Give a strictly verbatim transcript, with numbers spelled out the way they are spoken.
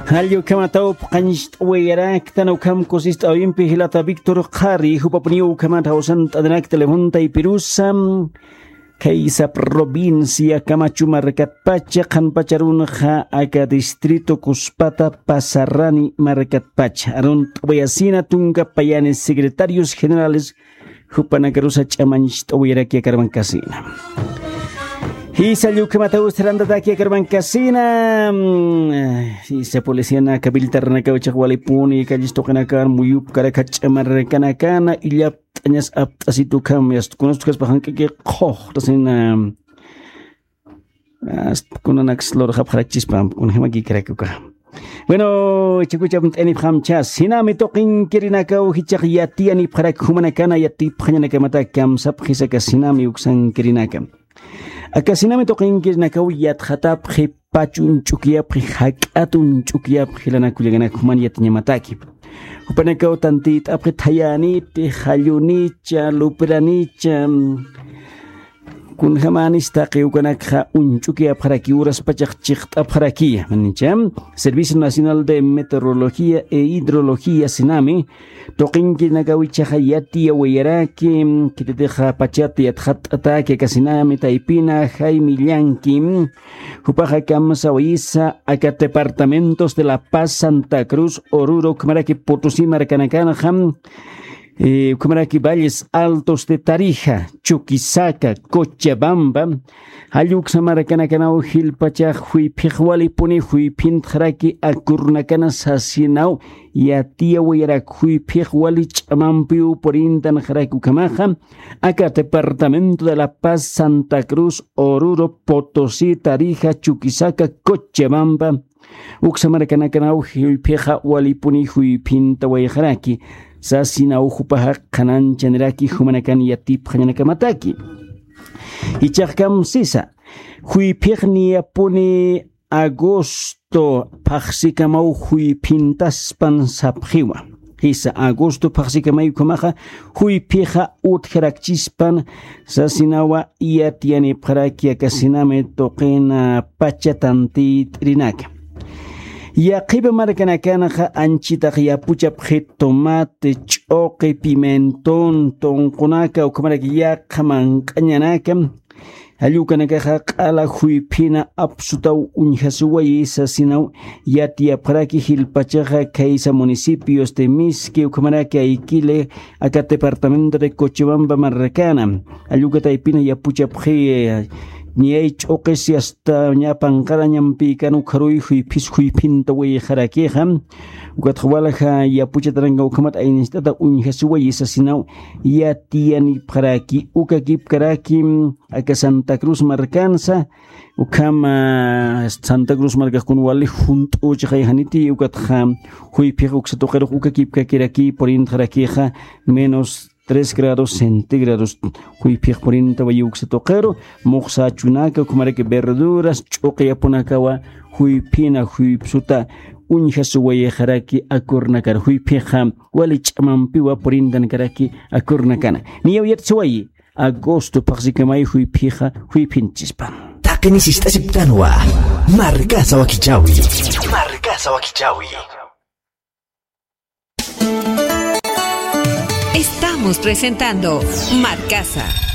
Jall ukhamat awpxañcht'awayaraktan ukham kusist'awimpi jilata Víctor Qhari, jupapuniw ukhamat jawsant'anirak telefontaypirusa. Khaysa provincia Camacho markatpacha, qhanpacharunxa aka distrito Cuspata Pasarani markatpacha. Arunt'awayasina tunka payani secretarios generales jupanakarusa ch'amañcht'awayaraki akarmankasina. Jisa llukhamataw sarantataki akarmankasina. Mm, jisa policiana kabiltarnakaw chiqwalipuni, calles tuqinakan, muyupkarak, jach'amarkanakana, illapt'añas apt'asitukham, yastkunastukhaspa jank'aki qhuqtasina. Kunanaks lurxapxarakchispa, kunjamakikarakuka. Bueno, chikuchapt'anipxamchas, sinami tuqinkirinakaw jichaq yatiyanipxarak jumanakana yatipxañanakamataki kamsapxisaka sinami uksankirinaka. Aka sinami tuqinkirinakaw yatxatapxi, pach uñch'ukiyapxi, jak'at uñch'ukiyapxi, lanakullakanak juman yatiñamataki. Jupanakaw tantit'apxi thayäniti, jallunicha, lupranicha, kunjamänis taqi ukanakxa uñch'ukiyapxaraki, uraspachax chiqt'apxaraki, manicha. Servicio Nacional de Meteorología e Hidrología sinami, tuqinkirinakaw jichhaxa yatiyawayaraki, khititixa pachat yatxatt'ataki, aka sinami taypina Jaime Llanqui, jupaxa kamsawayisa, aka departamentos de La Paz, Santa Cruz, Oruro, ukhamaraki Potosí markanakanxa, eh, ukhamaraki Valles Altos de Tarija, Chuquisaca, Cochabamba, jall uksa markanakanaw jilpachax juyphix walipuni juyphintxaraki akurnakana sasinaw yatiyawayarak, juyphix wali ch'amampiw purintanxaraki ukhamaxa, aka departamento de La Paz, Santa Cruz, Oruro, Potosí, Tarija, Chuquisaca, Cochabamba, uksa markanakanaw juyphixa walipuni juyphintawayxaraki, sasinaw jupaxa qhananchaniraki jumanakan yatipxañanakamataki. Jichhax kamsisa, juyphix niyapuni agosto phaxsikamaw juyphintaspan sapxiwa. Jisa, agosto phaxsikamay ukhamaxa juyphixa utjarakchispan sasinawa yatiyanipxaraki aka sinami tuqina pacha tantit'irinaka. Yaqhipa markanakanxa anchitax yapuchapxi tomate, ch'uqi, pimentón, tunqunaka, ukhamaraki yaqha manq'añanaka, jall ukanakaxa q'ala juyphina apsutaw uñjasuwayi sasinaw yatiyapxaraki jilpachaxa khaysa municipios de Mizque, ukhamaraki Aiquile, aka departamento de Cochabamba markana. Jall uka taypina yapuchapxi, eh, niyay ch'uqisi hasta ña panqarañampïkan ukharuy juyphis juyphintawayxarakixa. Ukatxa walja yapuchataranka ukhamat aynist'ata uñjasuwayi sasinaw yatiyanipxaraki, uka kipkaraki, aka Santa Cruz markansa, ukham, ah, Santa Cruz markax kun wali junt'uchixay janiti, ukatxa juyphix uksa tuqirux uka kipkakiraki purintxarakixa menos tres grados centígrados juyphix purintawayi uksa tuqiru, muxsa achunaka, ukhamaraki verduras, ch'uqi apunakawa juyphina, juypsuta uñjasuwayxaraki akurnakar, juyphixa wali ch'amampiwa purintankaraki akurnakana. Niyaw yatsuwayi, agosto phaxsikamay juyphixa juyphinchispan. Taqini sist'asiptanwa, markasa wakichawi. Markasa wakichawi. Estamos presentando Markasa.